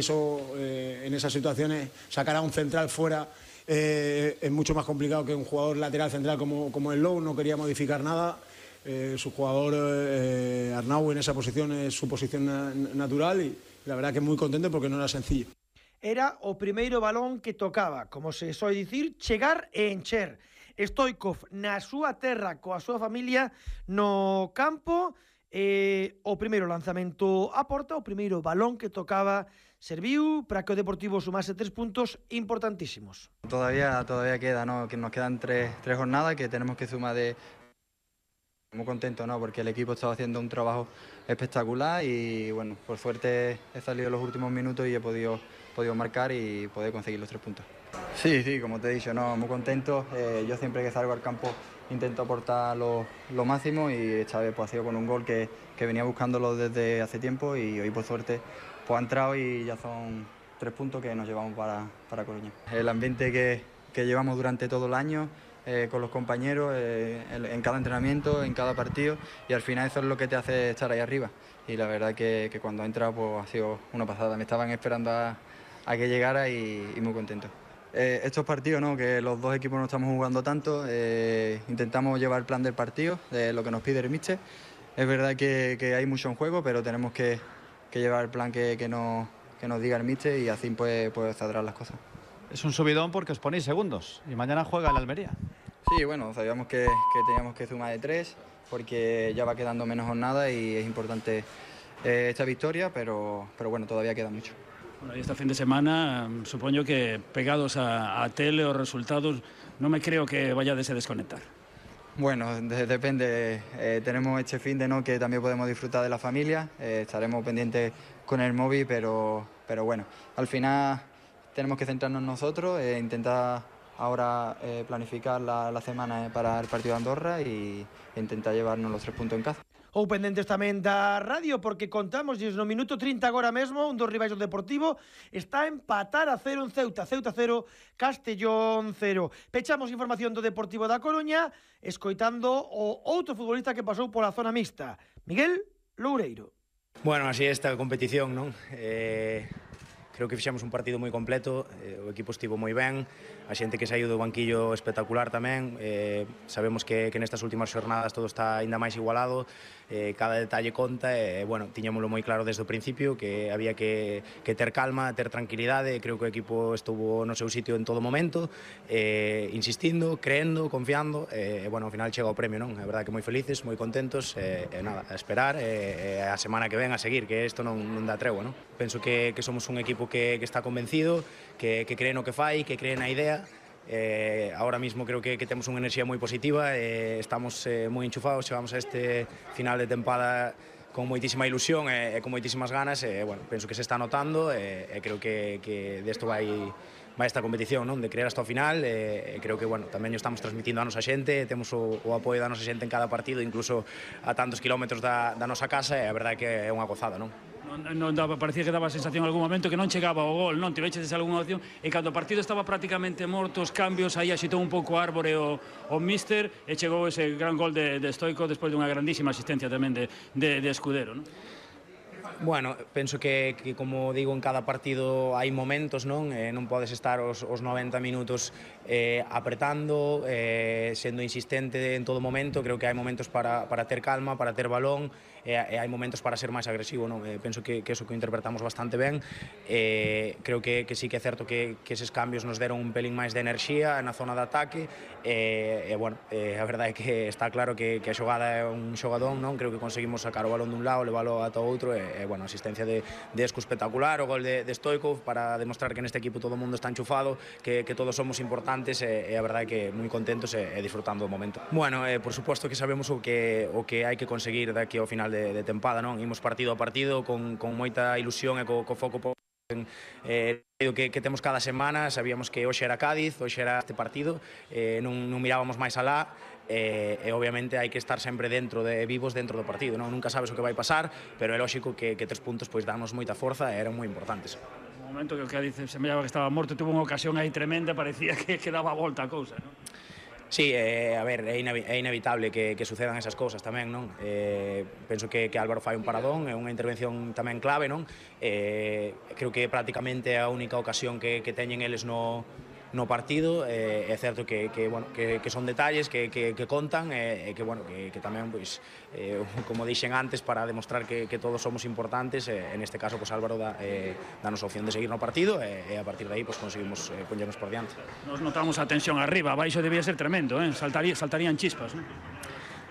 Eso, en esas situaciones, sacar a un central fuera es mucho más complicado que un jugador lateral central como el Lou. No quería modificar nada. Su jugador Arnau en esa posición es su posición natural y la verdad que muy contento porque no era sencillo. Era o primeiro balón que tocaba, como se soe dicir, chegar e encher. Stoichkov na súa terra coa súa familia no campo, o primeiro lanzamento a porta, o primeiro balón que tocaba serviu para que o Deportivo sumase 3 puntos importantísimos. Todavía queda, ¿no? Que nos quedan tres jornadas que tenemos que sumar de... Muy contento, ¿no? Porque el equipo estaba haciendo un trabajo espectacular y bueno, por suerte he salido en los últimos minutos y he podido marcar y poder conseguir los 3 puntos. Sí, como te he dicho, no, muy contento. Yo siempre que salgo al campo intento aportar lo máximo y esta vez pues, ha sido con un gol que venía buscándolo desde hace tiempo y hoy por suerte pues, ha entrado y ya son 3 puntos que nos llevamos para Coruña. El ambiente que llevamos durante todo el año, con los compañeros, en cada entrenamiento, en cada partido y al final eso es lo que te hace estar ahí arriba y la verdad que cuando he entrado pues, ha sido una pasada, me estaban esperando a que llegara y muy contento. Estos partidos, ¿no? Que los dos equipos no estamos jugando tanto, intentamos llevar el plan del partido, de lo que nos pide el míster. Es verdad que hay mucho en juego, pero tenemos que llevar el plan que nos diga el míster y así pues saldrán las cosas. Es un subidón porque os ponéis segundos y mañana juega el Almería. Sí, bueno, sabíamos que teníamos que sumar de 3 porque ya va quedando menos jornada y es importante esta victoria, pero bueno, todavía queda mucho. Bueno, y este fin de semana supongo que pegados a tele o resultados no me creo que vayáis a desconectar. Bueno, depende. Tenemos este fin de no que también podemos disfrutar de la familia. Estaremos pendientes con el móvil, pero bueno, al final tenemos que centrarnos en nosotros, intentar ahora planificar la semana para el partido de Andorra e intentar llevarnos los 3 puntos en casa. Ou pendentes tamén da radio, porque contamos no minuto 30 agora mesmo, un dos rivais do Deportivo está a empatar a 0 en Ceuta, 0, Castellón 0. Pechamos información do Deportivo da Coruña, escoitando o outro futbolista que pasou pola zona mixta, Miguel Loureiro. Bueno, así é esta competición, non? Creo que fixemos un partido moi completo, o equipo estivo moi ben, a xente que saiu do banquillo espectacular tamén, sabemos que nestas últimas xornadas todo está ainda máis igualado, cada detalle conta e, bueno, tiñámoslo moi claro desde o principio que había que ter calma, ter tranquilidade, creo que o equipo estuvo no seu sitio en todo momento, insistindo, creendo, confiando, e, bueno, ao final chega o premio, non? É verdade que moi felices, moi contentos, e nada, a esperar, e a semana que ven a seguir, que isto non dá tregua, non? Penso que somos un equipo que está convencido, que cree no que fai, que cree na idea. Ahora mismo creo que temos unha enerxía moi positiva, estamos moi enchufados, chegamos a este final de tempada con moitísima ilusión e con moitísimas ganas, bueno, penso que se está notando e creo que desto vai esta competición, non? De creer hasta o final, creo que, bueno, tamén o estamos transmitindo a nosa xente, temos o apoio da nosa xente en cada partido, incluso a tantos kilómetros da nosa casa, e a verdade que é unha gozada, non? Parecía que daba a sensación en algún momento que non chegaba o gol, non? Tiveches algunha opción e cando o partido estaba prácticamente morto, os cambios, aí axitou un pouco a árbore o míster e chegou ese gran gol de Stoichkov despois dunha grandísima asistencia tamén de Escudero, non? Bueno, penso que como digo, en cada partido hai momentos, non? Non podes estar os 90 minutos apretando, sendo insistente en todo momento. Creo que hai momentos para ter calma, para ter balón, e hai momentos para ser máis agresivo, non? Penso que eso que interpretamos bastante ben. Creo que sí que é certo que eses cambios nos deron un pelín máis de enerxía na zona de ataque, e bueno, a verdade é que está claro que a xogada é un xogadón, non? Creo que conseguimos sacar o balón dun lado, levalo ata o outro, e bueno, asistencia de Esco espectacular, o gol de Stoichkov para demostrar que neste equipo todo o mundo está enchufado, que todos somos importantes, e a verdade é que moi contentos e disfrutando do momento. Bueno, por suposto que sabemos o que hai que conseguir daqui ao final de tempada, non? Imos partido a partido con moita ilusión e co foco que temos cada semana. Sabíamos que hoxe era Cádiz, hoxe era este partido, non mirábamos máis alá, e obviamente hai que estar sempre vivos dentro do partido, non? Nunca sabes o que vai pasar, pero é lógico que 3 puntos pois danos moita forza e eran moi importantes. No momento que o Cádiz semellaba que estaba morto, tuvo unha ocasión aí tremenda, parecía que daba a volta a cousa, non? Sí, a ver, é inevitable que sucedan esas cousas tamén, non? Penso que Álvaro fai un paradón, é unha intervención tamén clave, non? Creo que prácticamente é a única ocasión que teñen eles no partido. É certo que son detalles que contan e que tamén, pois, como dixen antes, para demostrar que todos somos importantes, en este caso, pois, Álvaro danos a opción de seguir no partido e a partir de aí, pois, conseguimos poñernos por diante. Nos notamos a tensión arriba, abaixo debía ser tremendo, saltarían chispas, non?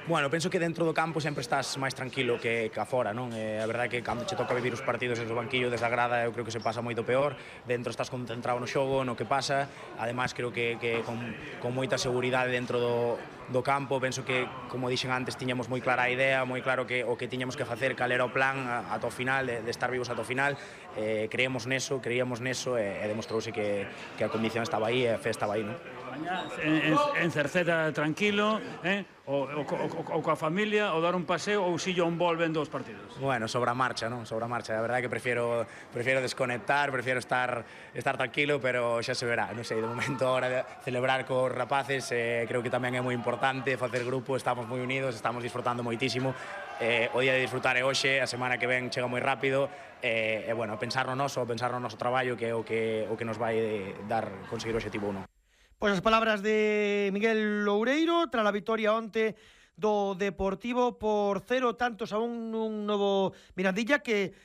Bueno, penso que dentro do campo sempre estás máis tranquilo que afora, non? A verdade é que cando che toca vivir os partidos desde o banquillo, desde a grada, eu creo que se pasa moito peor. Dentro estás concentrado no xogo, no que pasa. Ademais, creo que con moita seguridade dentro do campo. Penso que, como dixen antes, tiñamos moi clara a idea, moi claro o que tiñamos que facer, cal era o plan ata o final, de estar vivos ata o final. Creíamos neso e demostrouse que a condición estaba aí e a fe estaba aí, non? En Cerceda tranquilo, ou coa familia, ou dar un paseo, ou si un vol vendo os partidos? Bueno, sobre a marcha, non? Sobre a marcha. A verdade é que prefiero desconectar, prefiero estar tranquilo, pero xa se verá. Non sei, de momento, ahora de celebrar cos rapaces, creo que tamén é moi importante facer grupo, estamos moi unidos, estamos disfrutando moitísimo. O día de disfrutar é hoxe, a semana que ven chega moi rápido, e bueno, pensar no noso traballo, que é o que nos vai dar conseguir o obxectivo 1. Pois as palabras de Miguel Loureiro tras a vitoria onte do Deportivo por 0 tantos a un novo Mirandilla que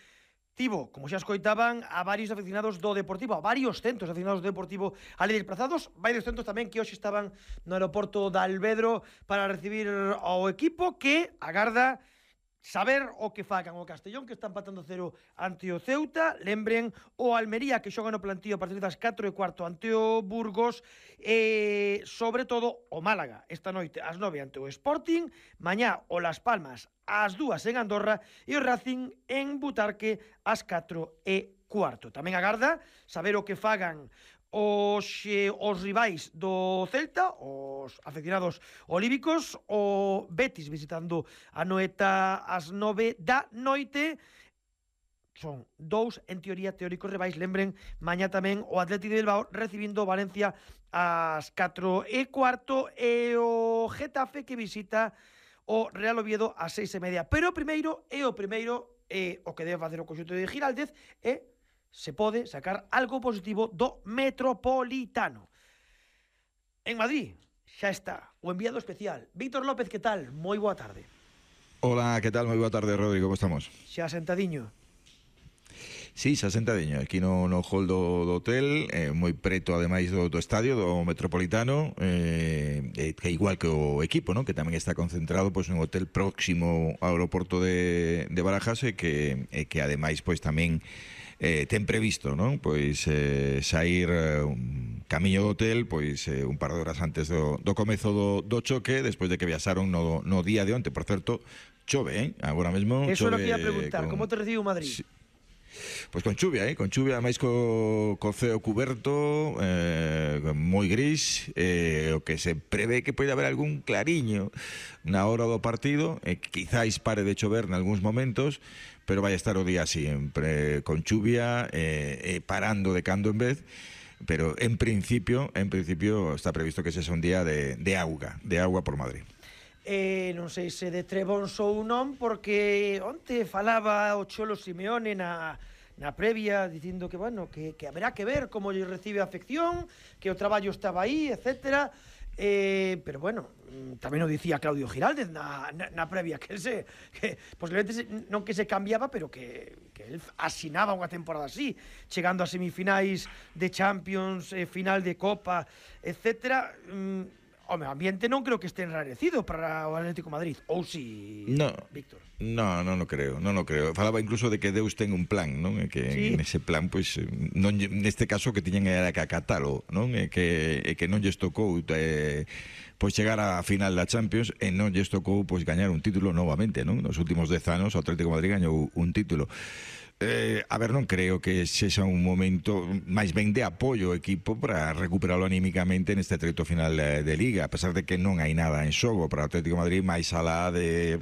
tivo, como xa escoitaban, a varios aficionados do Deportivo, a varios centos aficionados do Deportivo ali desplazados, varios centos tamén que hoxe estaban no aeroporto de Alvedro para recibir ao equipo que agarda saber o que fagan o Castellón, que está empatando 0 ante o Ceuta. Lembren o Almería, que xoga no plantío a partir das 4:15 ante o Burgos, e sobre todo o Málaga esta noite ás 9 ante o Sporting, mañá o Las Palmas ás 2 en Andorra e o Racing en Butarque ás 4:15. Tamén agarda saber o que fagan os rivais do Celta, os aficionados olímpicos, o Betis visitando a Noeta ás 9 da noite. Son dous, en teoría, teóricos rivais. Lembren, mañá tamén o Atlético de Bilbao recibindo Valencia ás 4:15 e o Getafe que visita o Real Oviedo ás 6:30. Pero o primeiro o que debe facer o conxunto de Giraldez é se pode sacar algo positivo do Metropolitano. En Madrid xa está o enviado especial Víctor López, que tal? Moi boa tarde. Hola, que tal? Moi boa tarde, Rodrigo, como estamos? Xa sentadiño. Sí, xa sentadiño, aquí no hall do hotel, moi preto ademais do estadio, do Metropolitano, que igual que o equipo, ¿no? Que tamén está concentrado pois, nun hotel próximo ao aeroporto de Barajas e que ademais pois tamén ten previsto, non? Pois sair camiño do hotel pois un par de horas antes do comezo do choque, despois de que viaxaron no día de onte. Por certo, chove, agora mesmo eso chove. Eso é o que ia preguntar, como te recibe o Madrid? Sí. Pois con chuvia, máis co ceo cuberto, moi gris, o que se prevé que pode haber algún clariño na hora do partido, quizáis pare de chover nalgúns momentos, pero vai estar o día sempre con chuvia, parando de cando en vez, pero en principio está previsto que sexa un día de auga por Madrid. Non sei se de Trebons ou non, porque onte falaba o Cholo Simeone na previa dicindo que, bueno, que haberá que ver como lle recibe a afección, que o traballo estaba aí, etcétera. Pero bueno, tamén o dicía Claudio Giraldez na previa, que posiblemente non que se cambiaba, pero que el asinaba unha temporada así, chegando a semifinais de Champions, final de Copa, etcétera. O medio ambiente non creo que este enrarecido para o Atlético de Madrid, ou si, Víctor? Non o creo. Falaba incluso de que Deus ten un plan, non? E que ¿sí? En ese plan, pois, non, neste caso que tiñen era que acatalo, non? E que non lles tocou pois chegar á final da Champions e non lles tocou pois gañar un título novamente, non? Nos últimos 10 anos o Atlético de Madrid gañou un título. A ver, non creo que sexa un momento máis ben de apoio ao equipo para recuperarlo anímicamente neste treito final de Liga, a pesar de que non hai nada en xogo para o Atlético de Madrid máis alá de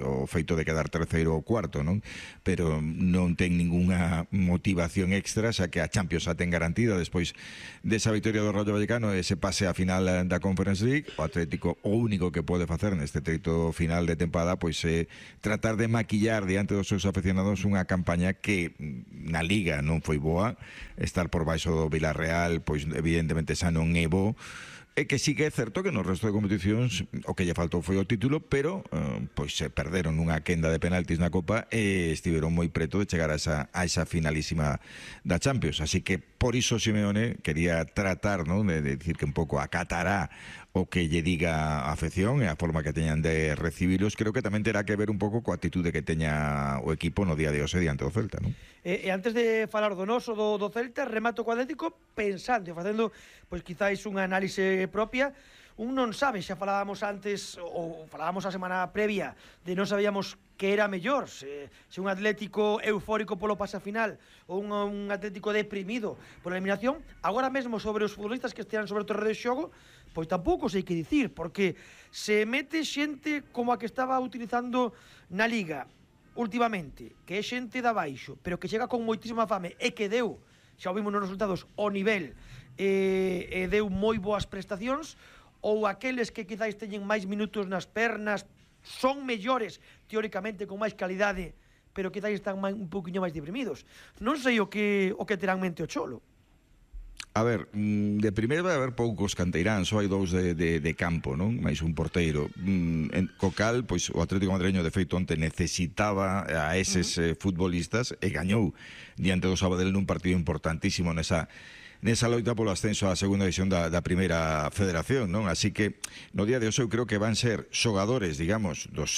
o feito de quedar terceiro ou cuarto, non? Pero non ten ningunha motivación extra, xa que a Champions a ten garantida despois desa victoria do Rayo Vallecano e se pase a final da Conference League. O Atlético o único que pode facer neste treito final de tempada pois é tratar de maquillar diante dos seus aficionados unha campaña que na Liga non foi boa, estar por baixo do Villarreal pois evidentemente xa non é bo, e que sí que é certo que no resto de competicións o que lle faltou foi o título, pero pois se perderon unha quenda de penaltis na Copa e estiveron moi preto de chegar a esa finalísima da Champions, así que por iso Simeone quería tratar, ¿no?, de decir que un pouco acatará o que lle diga a afección e a forma que teñan de recibilos. Creo que tamén terá que ver un pouco coa actitude que teña o equipo no día de hoxe diante do Celta, non? E antes de falar do noso do Celta, remato co Atlético pensando, facendo pois quizáis unha análise propia. Un non sabe, xa falábamos antes ou falábamos a semana previa de non sabíamos que era mellor, se un Atlético eufórico polo pase final ou un Atlético deprimido pola eliminación. Agora mesmo sobre os futbolistas que estean sobre o terreno de xogo, pois tampouco sei que dicir, porque se mete xente como a que estaba utilizando na Liga últimamente, que é xente da baixo, pero que chega con moitísima fame e que deu, xa o vimos nos resultados, o nivel e deu moi boas prestacións, ou aqueles que quizáis teñen máis minutos nas pernas, son mellores teóricamente, con máis calidade, pero quizáis están un poquinho máis deprimidos. Non sei o que terán mente o Cholo. A ver, de primeiro vai haber poucos canteiráns, só hai dous de campo, non? Mais un porteiro. Co cal, pois o Atlético Madrileño de feito onte necesitaba a eses futbolistas e gañou diante do Sabadell nun partido importantísimo nesa loita polo ascenso á segunda división da primeira federación, non? Así que no día de hoxe eu creo que van ser xogadores, digamos, dos